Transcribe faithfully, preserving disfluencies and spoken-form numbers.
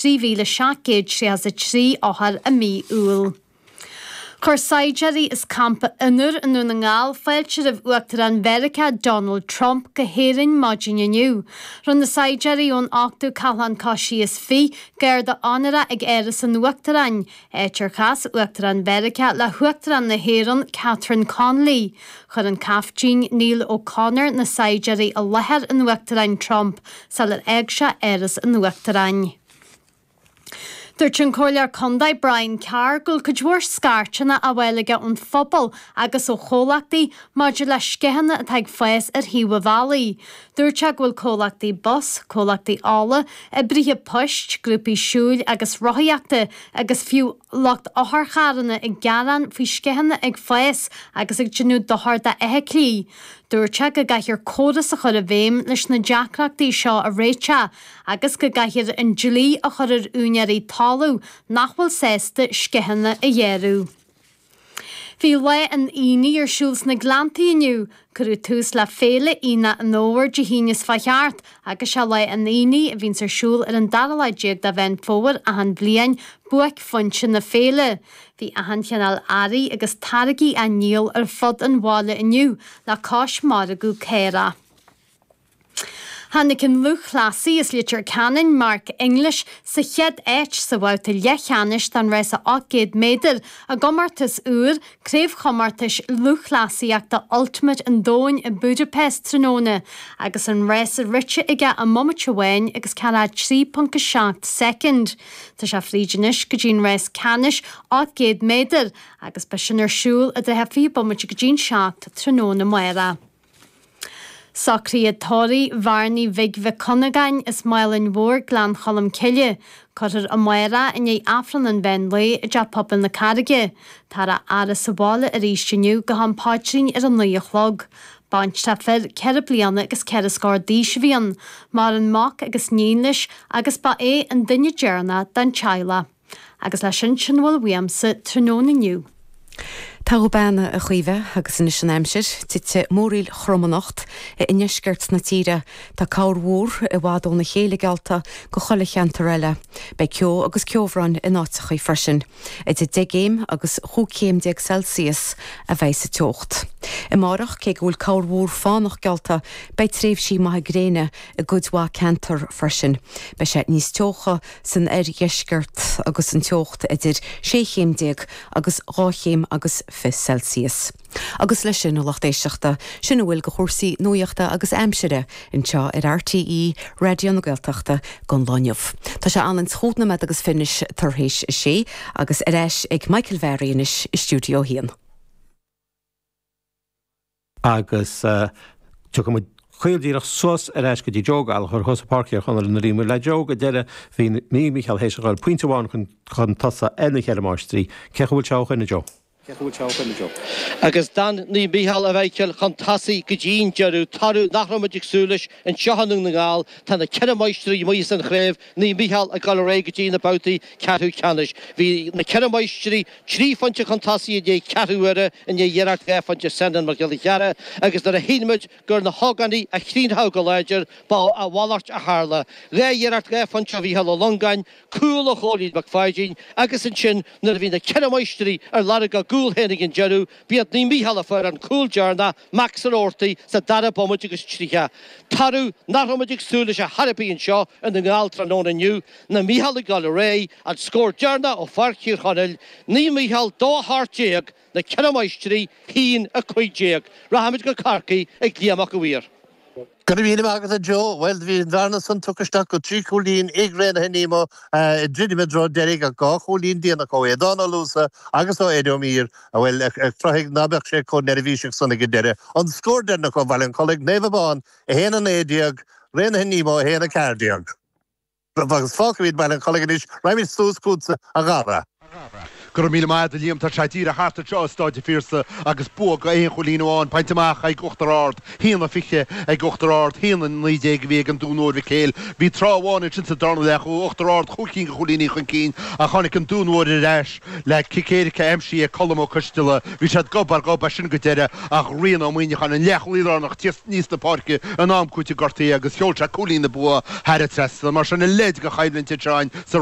trí mhíle seacht gcéad tríocha a trí othar i mí Iúil. Chuir saighdiúirí as Campa Fhionnúr i nDún na nGall fáilte roimh Uachtarán Mheiriceá Donald Trump go hÉirinn maidin inniu. Rinne na saighdiúirí ón ochtú Cathlán Cois is Fiche garda onóra ag Áras an Uachtaráin, áit ar chas Uachtarán Mheiriceá le hUachtarán na hÉireann Catherine Connolly. Chuir an Caiftín Neil O'Connor na saighdiúirí i láthair an Uachtaráin Trump sular fhág sé Áras an Uachtaráin. Dúirt an Comhairleoir Contae Brian Carr go bhfuil cuid mhór scairteanna á bhfáil aige ón phobal agus ó chomhlachtaí maidir le sceitheanna atá ag fás ar thaobh an bhealaigh. Dúirt sé go bhfuil comhlachtaí bus, comhlachtaí ola, oibrithe poist, grúpaí siúil agus rothaíochta agus fiú lucht otharcharranna ag gearán faoi sceitheanna ag fás agus ag déanamh dochar d'fheithiclí. Dúirt sé go gcaithfear córas a chur i bhfeidhm leis na deacrachtaí seo a réiteach agus go gcaithfear an dlí a chur ar úinéirí talamh nach bhfuil sásta sceitheanna a ghearradh. Bhí Lá an Aonaigh ar siúl sna Gleanntaí inniu. Cuireadh tús le Féile Aonach an Fhómhair Dé hAoine seo thart agus sé Lá an Aonaigh a bhíonns ar siúl ar an dara lá déag de Mheán Fómhair achan bhliain, buaicphointe na féile. Bhí achan chineál earraí agus táirgí á ndíol ar fud an bhaile inniu le cois margadh caorach. Tháinig an lúthchleasaí as Leitir Ceanainn Mark English sa chéad áit sa bhabhta leathcheannais den rás ocht gcéad méadar i gcomórtas úr craobhchomórtais lúthchleasaíochta Ultimate an Domhain i Budapest tráthnóna agus an rás rite aige i mbomaite amháin agus ceathracha trí ponc a seacht soicind. Tá sé fríd anois go dtí an rás ceannais ocht gcéad méadar agus beidh sin ar siúl i dtrátha fiche bomaite go dtí'n seacht tráthnóna amárach. Socruithe tórraimh Bhearnaí Bhig Mhic Cunagáin as Málainn Mhór, Gleann Cholm Cille. Cuirfear amárach i ndiaidh Aifreann an mheán lae i dTeach Pobail na Carraige. Táthar á fhaire sa bhaile arís inniu go ham paidrín ar a naoi a chlog. Baintreach fir ceithre bliana agus ceithre scór d'aois a bhí ann. Maireann mac agus níon leis agus ba é an duine deireanach den teaghlach. Agus leis sin sin a bhfuil uaimse tráthnóna inniu. Tá go beanna a Chaoimhe agus anois an aimsir, titfidh múraíl throm anocht i ndeisceart na tíre. Tá corrmhúr i bhfad óna chéile geallta do chuile cheantar eile. Beidh ceo agus ceobhrán in áiteachaí freisin. Idir deich gcéim agus chúig chéim déag Celsius a bheidh sa teocht. Amárach cé go bhfuil corrmhúr fánach geallta, beidh tréimhsí maithe gréine i gcuid mhaith ceantar freisin. Beidh sé níos teocha san oirdheisceart agus an teocht idir sé chéim déag agus dhá chéim agus fiche Celsius. Agus leis sin a lucht éisteachta, sin a bhfuil de chúrsaí nuachta agus aimsire anseo ar RTÉ Raidió na Gaeltachta don lá inniu. Tá sé anlann chúig nóiméad agus fiche tar éis a sé agus ar ais ag Michael Varey anois i stiúideo a haon. Agus tiocfaidh muid caol díreach suas ar ais go dtí Joe Gallagher thuas i Páirc Thír Chonaill nuair a bhí muid le Joe go deireadh bhí Naomh Mícheál théis a dhul pointe amháin chun chun tosaigh ar na Ceithre Máistrí. Cé chaoi bhfuil sé ó shoin a Joe? Cé chaoi bhfuil sé ó shoin a Joe? Agus d'fhan Naomh Mícheál a Mhichael chun tosaigh go dtí'n deireadh, toradh nach raibh muid ag súil leis anseo i nDún na nGall. Tá na Ceithre Máistrí amuigh as an chraobh, Naomh Mícheál ag dul ar aghaidh go dtí na babhtaí ceathrú ceannais. Bhí na Ceithre Máistrí trí phointe chun tosaigh i ndiaidh ceathrú uaire, i ndiaidh iarracht dhá phointe Senan Mac Giolla Chearra, agus nuair a shíl muid gur na hógánaigh a chríochnódh go láidir, ba a mhalairt a tharla. Dhá iarracht dhá phointe ó Mhícheál Ó Longáin, cúl ó Chóilín Mac Pháidín, agus ansin nuair a bhí na Ceithre Máistrí ar lorg a gcúl féin ag an deireadh, b'iad Naomh Mícheál a fuair an cúl deireanach, Max Ó Roarty, sa dara bomaite agus tríocha. Toradh nach raibh muid ag súil leis ar chor ar bith anseo i nDún na nGall tráthnóna inniu, Naomh Mícheál ag dul ar aghaidh, an scór deireanach ó Pháirc Thír Chonaill, Naomh Mícheál dó a hocht déag, Na Ceithre Máistrí, haon a cúig déag. Rachaimid go Corcaigh ag Liam Mac a' Mhaoir. Go raibh míle maith agat a Joe. Bhuel, bhí an bhearna san tugtha isteach go trí chúilín ag Raonaithe Nemo ag druidim i dtreo deiridh ach dhá chúilín déanach ó Aodán Ó Luasa agus ó Eddie Ó Mír, bhuel, a chruthaigh ná beadh sé chomh neirbhíseach san ag an deireadh. An scór deireanach ó Bhaile an Chollaigh, Naomh Abán a haon a naoi déag, Raonaithe Nemo a haon a ceathair déag. Agus fágfaimid Baile an Chollaigh anois, raghaimid suas chugatsa, a Dhara. Go raibh míle maith agat a Liam, tá sé díreach thart anseo i Stáid an Phiarsaigh agus bua go aon chúilín amháin bainte amach ag Uachtar Ard, haon a fiche ag Uachtar Ard, haon a naoi déag a bhí ag an Dún Mór Mhic Éil. Bhí tráth amháin ansin sa darna leath chuaigh Uachtar Ard chúig cinn de chúilíní chun cinn ach tháinig an Dún Mór ar ais le cic éirice aimsithe ag Colm Ó Coisteala. Bhí siad gob ar ghob as sin go deireadh ach Rian Ó Muíneacháin, an leathchúlaí lárnach, aníos na páirce in am cúitimh gortaithe agus sheol sé cúilín na bua thar an trasnán. Mar sin a leithéid de choimhlint anseo sa